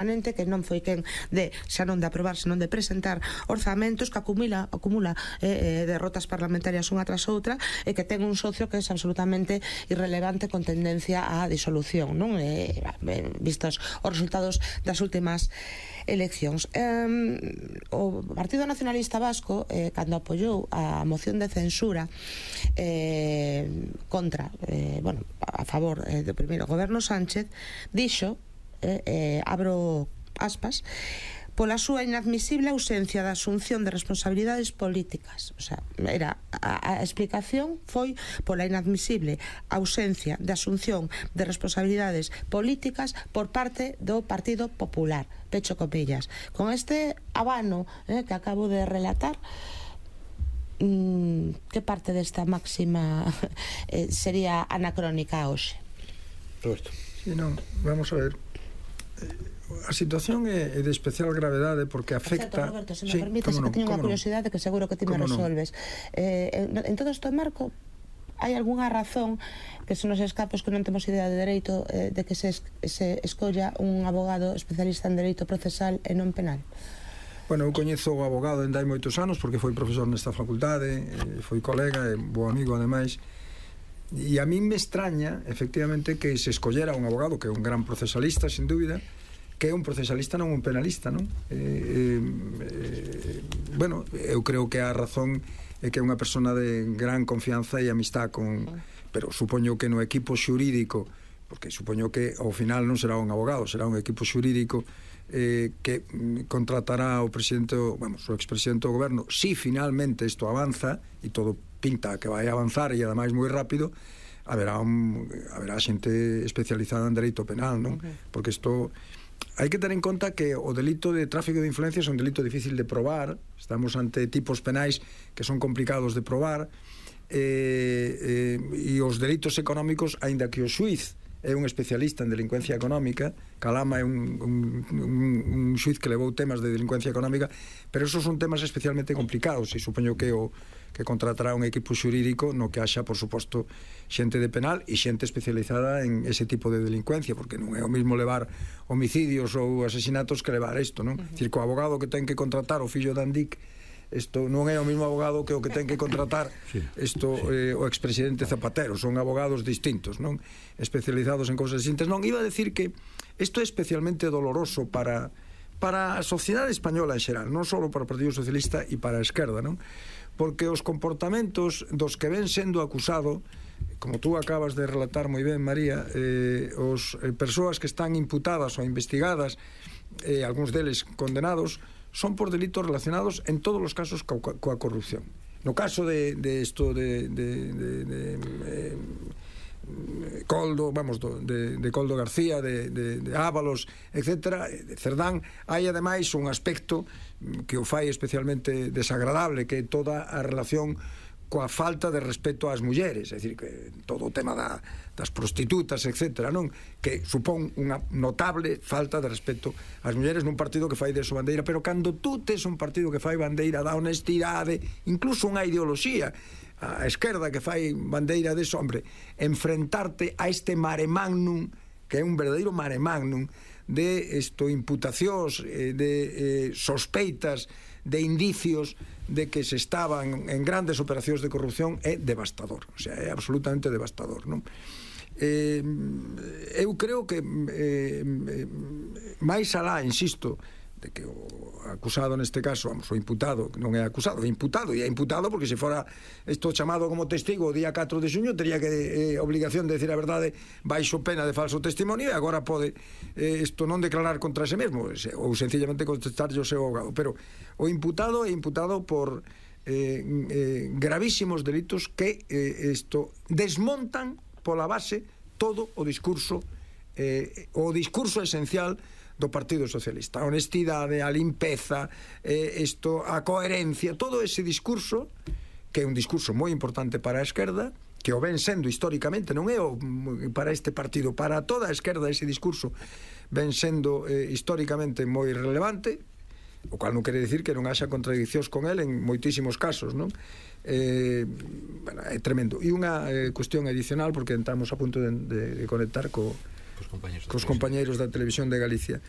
que non foi quen de, xa non de aprobar, senón de presentar orzamentos, que acumula derrotas parlamentarias unha tras outra, e que ten un socio que é absolutamente irrelevante con tendencia á disolución, non? Vistos os resultados das últimas eleccións. O Partido Nacionalista Vasco, cando apoiou a moción de censura contra, a favor do primeiro goberno Sánchez, dixo, abro aspas, pola súa inadmisible ausencia da asunción de responsabilidades políticas. O sea, a explicación foi pola inadmisible ausencia de asunción de responsabilidades políticas por parte do Partido Popular, pecho comillas. Con este abano que acabo de relatar, que parte desta máxima sería anacrónica hoxe? Roberto. Sí, non, vamos a ver. A situación é de especial gravedade porque afecta... Roberto, se me permites, que teño unha curiosidade que seguro que ti me resolves. En todo este marco, hai algunha razón que se nos escapos que non temos idea de dereito de que se escolla un abogado especialista en dereito procesal e non penal? Bueno, eu coñezo o abogado dende hai moitos anos porque foi profesor nesta facultade, foi colega e bo amigo ademais. E a mí me extraña, efectivamente, que se escollera un abogado que é un gran procesalista, sin dúbida, que é un procesalista, non un penalista, non? Bueno, eu creo que a razón é que é unha persona de gran confianza e amistad con... Pero supoño que no equipo xurídico, porque supoño que ao final non será un abogado, será un equipo xurídico que contratará o presidente, o expresidente do goberno, si finalmente isto avanza, e todo pinta que vai avanzar e ademais moi rápido, haberá xente especializada en dereito penal, non? Porque isto hai que ter en conta que o delito de tráfico de influencias é un delito difícil de probar, estamos ante tipos penais que son complicados de probar, e os delitos económicos, aínda que o xuiz é un especialista en delincuencia económica, Calama é un xuiz que levou temas de delincuencia económica, pero esos son temas especialmente complicados, e supoño que contratará un equipo xurídico no que haxa, por suposto, xente de penal e xente especializada en ese tipo de delincuencia, porque non é o mismo levar homicidios ou asesinatos que levar isto, non? Dicir, que o abogado que ten que contratar o fillo de Andic, isto non é o mesmo abogado que o que ten que contratar o expresidente Zapatero, son abogados distintos, non? Especializados en cousas distintas. Non, iba a decir que isto é especialmente doloroso para a sociedade española en xeral, non só para o Partido Socialista e para a esquerda, non? Porque os comportamentos dos que ven sendo acusado, como tú acabas de relatar moi ben, María, os persoas que están imputadas ou investigadas, algúns deles condenados, son por delitos relacionados en todos os casos coa corrupción. No caso de Coldo, de Coldo García, de Ábalos, etcétera, de Cerdán, hai ademais un aspecto que o fai especialmente desagradable, que é toda a relación coa falta de respeto ás mulleres, é dicir, que todo o tema das prostitutas, etcétera, non? Que supón unha notable falta de respeto ás mulleres nun partido que fai deso bandeira, pero cando tú tes un partido que fai bandeira da honestidade, incluso unha ideoloxía, a esquerda que fai bandeira deso, hombre, enfrentarte a este mare magnum, que é un verdadeiro mare magnum, de imputacións, de sospeitas, de indicios de que se estaban en grandes operacións de corrupción, é devastador, o sea, é absolutamente devastador, non? Eu creo que máis alá, insisto, de que o acusado neste caso, o imputado, non é acusado, é imputado, e é imputado porque se fora isto chamado como testigo o día 4 de xuño, tería que obligación de decir a verdade baixo pena de falso testimonio, e agora pode isto non declarar contra ese mesmo, ou sencillamente contestarlle o seu abogado. Pero o imputado é imputado por gravísimos delitos que isto desmontan pola base todo o discurso esencial do Partido Socialista, a honestidade, a limpeza, a coherencia, todo ese discurso, que é un discurso moi importante para a esquerda, que o ven sendo históricamente, non é para este partido, para toda a esquerda ese discurso ven sendo históricamente moi relevante, o cual non quere dicir que non haxa contradiccións con el en moitísimos casos, non? É tremendo. E unha cuestión adicional, porque estamos a punto de conectar cos compañeiros da Televisión de Galicia.